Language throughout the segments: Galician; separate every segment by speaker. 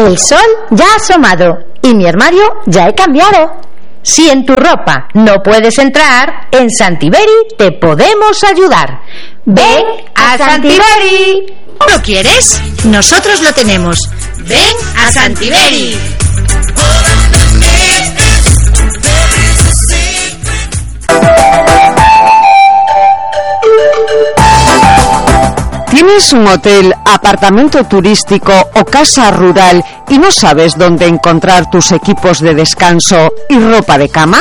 Speaker 1: El sol ya ha asomado y mi armario ya he cambiado. Si en tu ropa no puedes entrar, en Santiberi te podemos ayudar. ¡Ven a Santiberi!
Speaker 2: ¿Lo quieres? Nosotros lo tenemos. ¡Ven a Santiberi!
Speaker 3: ¿Tienes un hotel, apartamento turístico o casa rural y no sabes dónde encontrar tus equipos de descanso y ropa de cama?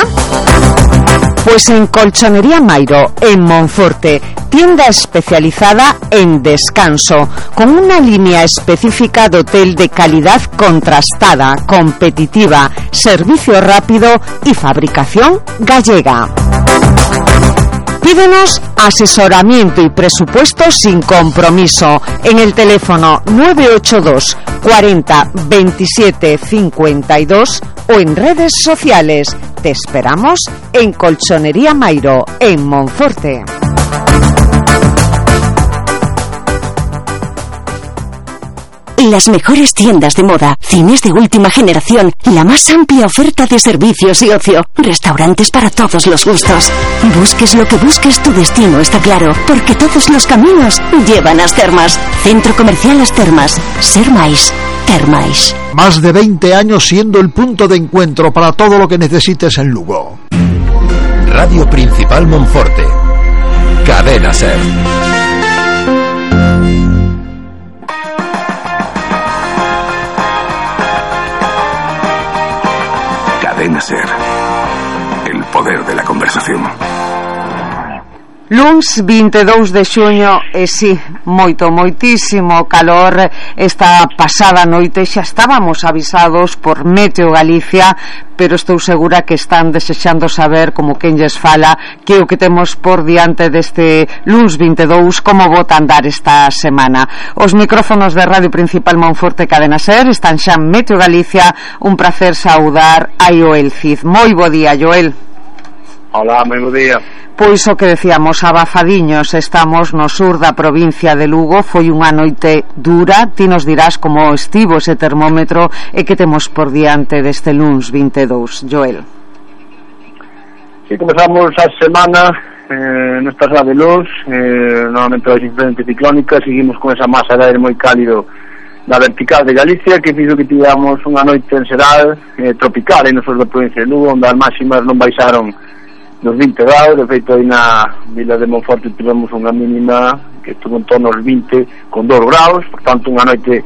Speaker 3: Pues en Colchonería Mairo, en Monforte, tienda especializada en descanso, con una línea específica de hotel de calidad contrastada, competitiva, servicio rápido y fabricación gallega. Pídenos asesoramiento y presupuesto sin compromiso en el teléfono 982 40 27 52 o en redes sociales. Te esperamos en Colchonería Mairo, en Monforte.
Speaker 4: Las mejores tiendas de moda, cines de última generación, la más amplia oferta de servicios y ocio, restaurantes para todos los gustos. Busques lo que busques, tu destino está claro, porque todos los caminos llevan a As Termas. Centro Comercial As Termas. Ser máis, ter máis.
Speaker 5: Más de 20 años siendo el punto de encuentro para todo lo que necesites en Lugo.
Speaker 6: Radio Principal Monforte. Cadena Ser.
Speaker 7: Cadena Ser. El poder de la conversación.
Speaker 3: Luns 22 de xuño e si, moitísimo calor. Esta pasada noite xa estábamos avisados por Meteo Galicia, pero estou segura que están desexando saber, como quen lles fala, que o que temos por diante deste luns 22, como bota andar esta semana. Os micrófonos de Radio Principal Monforte Cadena Ser están xa en Meteo Galicia. Un placer saudar a Joel Cid. Moi bo día, Joel.
Speaker 8: Hola, moi bo día.
Speaker 3: Pois o que decíamos, abafadiños, estamos no sur da provincia de Lugo. Foi unha noite dura. Ti nos dirás como estivo ese termómetro e que temos por diante deste luns 22, Joel.
Speaker 8: Si, comezamos a semana nesta sala de luz, novamente as influencias ciclónicas. Seguimos con esa masa de aire moi cálido na vertical de Galicia, que fixo que tivamos unha noite en xeral tropical no sur da provincia de Lugo, onde as máximas non baixaron nos 20 graus. De feito, aí na vila de Monforte tivemos unha mínima que estuvo en torno aos 20 con 2 graus, por tanto unha noite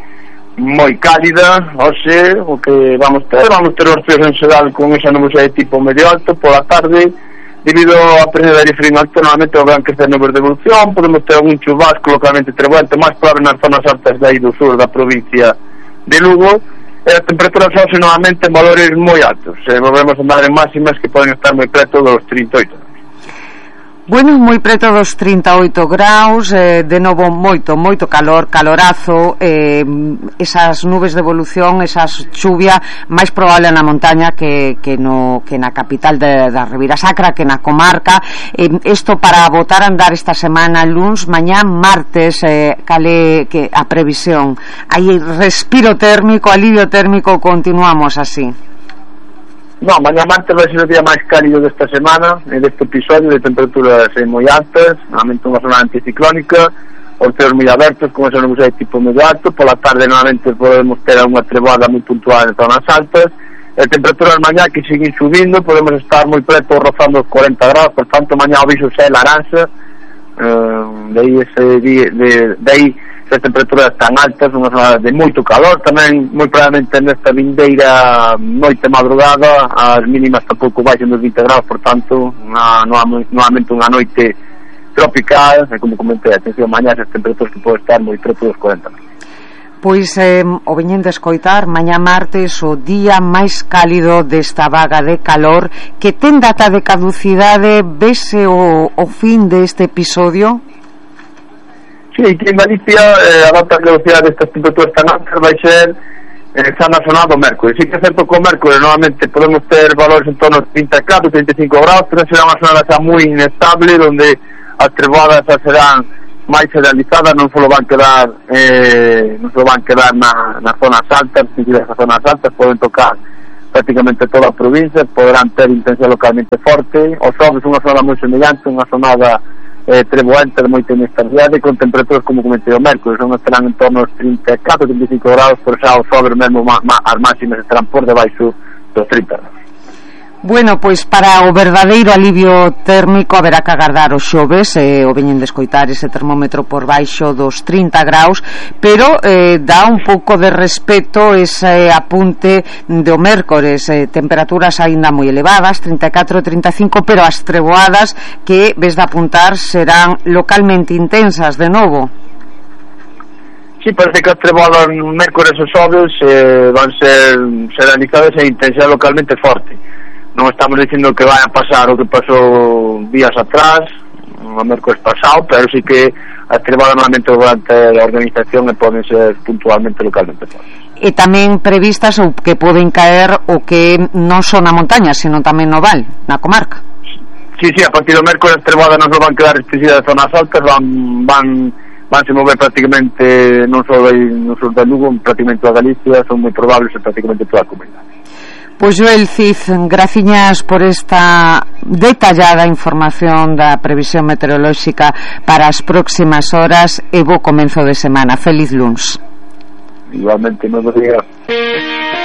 Speaker 8: moi cálida. Hoxe o que vamos ter os fríos en xeral con esa nubosidade de tipo medio alto pola tarde, debido á presenza de aire frío alto. Normalmente van crecer nubes de evolución, podemos ter algún chubasco localmente trebuento, máis probable nas zonas altas de aí do sur da provincia de Lugo. As temperaturas hoxe novamente en valores moi altos. Volvemos a andar en máximas que poden estar moi preto dos 38.
Speaker 3: Bueno, moi preto dos 38 graus, de novo moito calor, calorazo, esas nubes de evolución, esas chuvia, máis probable na montaña que na capital da Ribeira Sacra, que na comarca. Isto para botar a andar esta semana, luns, mañá, martes, cale que a previsión. Hai respiro térmico, alivio térmico, continuamos así.
Speaker 8: No, mañá martes vai ser o día máis cálido desta semana, deste episodio, de temperaturas moi altas, normalmente unha zona anticiclónica, os ceos moi abertos, con esa nubosidade de tipo medio alto. Pola tarde normalmente podemos ter unha treboada moi puntual en zonas altas. As temperaturas mañá que siguen subindo, podemos estar moi preto rozando os 40 graus, por tanto mañá o viso xa é laranxa. De aí as temperaturas tan altas, unha zona de moito calor. Tamén moi probablemente nesta vindeira noite madrugada as mínimas tampouco baixen dos 20 graus, por tanto novamente unha noite tropical. E como comentei, atención, mañá as temperaturas que pode estar moi preto dos 40.
Speaker 3: Pois o veñen de escoitar, mañá martes o día máis cálido desta vaga de calor, que ten data de caducidade. Vese o fin deste episodio?
Speaker 8: Sí, aquí en Galicia a data de caducidade destas temperaturas tan altas vai ser xa na zona do mércores. Sí que é certo que o mércores normalmente podemos ter valores en torno aos 34, 35 graus, pero será unha zona xa moi inestable, onde as treboadas xa serán máis generalizadas, non só van quedar nas zonas altas, as zonas altas poden tocar prácticamente toda a provincia, poderán ter intensidade localmente forte. Os xoves unha zona moi semellante, unha zonada treboente de moita inestabilidade, con temperaturas como comentei o mércoles, non estarán en torno aos 34-35 graus, por xa os xoves mesmo as máximas estarán por debaixo dos 30 graus.
Speaker 3: Bueno, pois para o verdadeiro alivio térmico haberá que agardar os xoves, o veñen de escoitar ese termómetro por baixo dos 30 graus, pero dá un pouco de respeto ese apunte do mércores, temperaturas aínda moi elevadas, 34-35, pero as treboadas que ves de apuntar serán localmente intensas de novo.
Speaker 8: Sí, parece que as treboadas mércores e xoves van ser seranizadas e intensidade localmente forte. Non estamos dicindo que vai a pasar o que pasou días atrás, o mércores pasado, pero sí que as trebadas normalmente durante a organización e poden ser puntualmente localmente fortes.
Speaker 3: E tamén previstas o que poden caer o que non son na montaña, sino tamén no val, na comarca.
Speaker 8: Sí, a partir do mércores as trebadas non só van quedar restringidas de zonas altas, vanse mover prácticamente non só de Lugo, prácticamente toda Galicia, son moi probables en prácticamente toda a comunidade.
Speaker 3: Pois Joel Cid, graciñas por esta detallada información da previsión meteorolóxica para as próximas horas e bo comenzo de semana. Feliz luns.
Speaker 8: Igualmente, nos días.